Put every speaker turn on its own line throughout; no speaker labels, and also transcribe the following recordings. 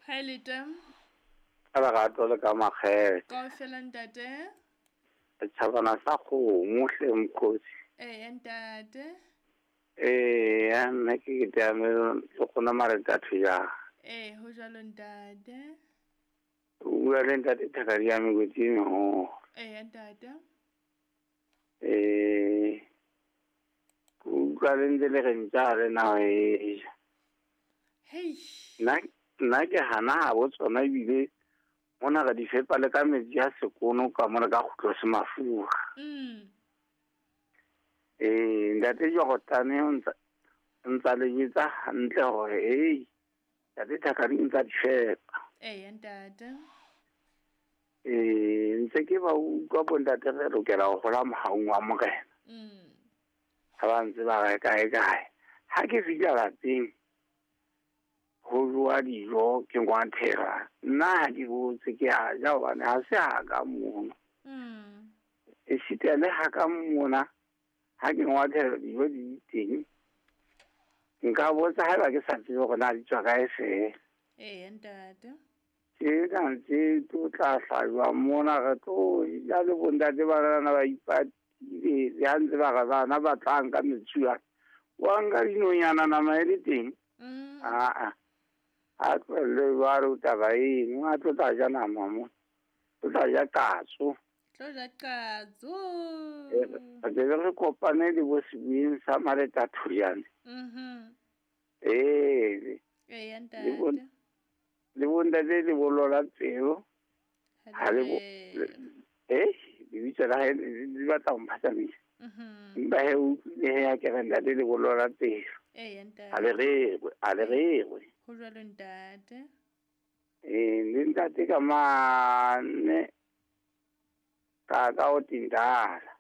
Hi leta.
Ka lerato le ka makgethe.
Kaofela ntate.
Setjhabana sa kgomo hle mokgosi.
Eya ntate.
Eya nna ke ke le kgona maretatho jang.
Ee ho jwalo ntate.
O bua le ntate Thakadi ya Mekoti e meholo.
Eya ntate.
Ke utlwa le ntse le re ntja ha le na ho e ja.
Hei.
Nna ke hana habo tsona ebile mona re di fepa le ka metsi a sekono ka mona ka kgutlo se mafura. Ntate Jorotane o ntsa le jwetsa hantle hore hei ntate Thakadi o ntsa di fepa.
Eya ntate.
Ntse ke ba utlwa bo ntate re lokela ho hola mohaung wa Morena. Ha ba ntse ba re kae kae. Ha ke fihla lapeng ho jowa dijo ke ngwathela. Nna ha ke botse ke a ja hobane ha se ha ka mona. Esita le ha ka mona ha ke ngwathela dijo di teng. Nka botsa haeba ke sa tsebe hore na di tswa kae feela.
Eya ntate.
Tsena tse tlo tla hlajwa mona re tlo ja le bontate ba rona ba ipatile le ha ntse ba re bana ba tla nka metsuana. Wa nka dinonyana nama e le teng. Aa. A tlohelle jwalo taba eno, a tlo tla ja nama mo. O tla ja katso.
Tlo ja katso.
Re tle re kopane le bo sebueng sa Maretathoyane. Ee.
Eya ntate.
Le bontate le bolola pelo. Ha le bo lebitso la hae le batla ho mphatsamisa. Empa he o utlwile he ha ke re ntate le bolola pelo.
Eya ntate.
Ha le rerwe, ha le rerwe.
Ho jwalo ntate.
Le ntate ka mane ka o tindala.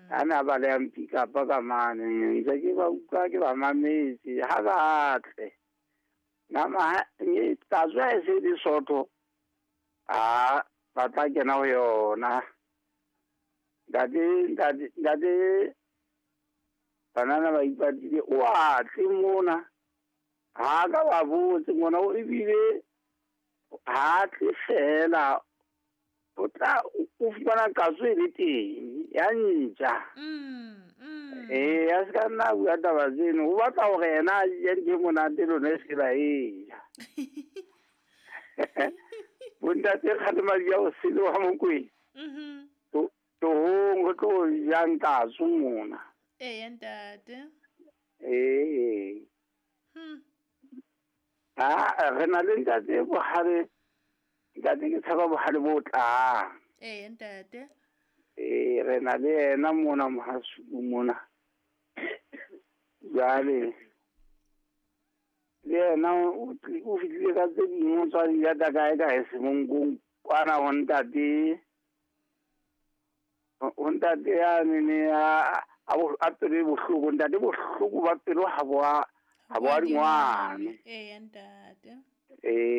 Ha na ba le a mpikapa ka mane ntse ke ba utlwa ke ba mametse ha ba tle. Nama e tla e se di soto. A ba tla kena ho yona. Ntate banana ba ipatile o a tle mona. Ha ka ba botse ngwana o ebile ha tle fela o tla o fumana katso e le teng ya ntja. A se ka nna bua taba tseno o batla hore yena a je ntho e monate lona e se la e ja. Bontate kgalemadi ya o sele wa Mokwena. Tohong re tlo jang katso mona.
Eya ntate.
Ee. Re na le ntate bohale. Ntate ke tshaba bohale bo tlang.
Eya ntate.
Re na le yena mona mohasuku mona. Jwale le yena o fihlile ka tse ding o tswa di lata kae kae semonkong kwana ho ntate. Ho ntate yane ne a pelo e bohloko ntate bohloko ba pelo ha bo a dingwane.
Eya ntate.
Ee.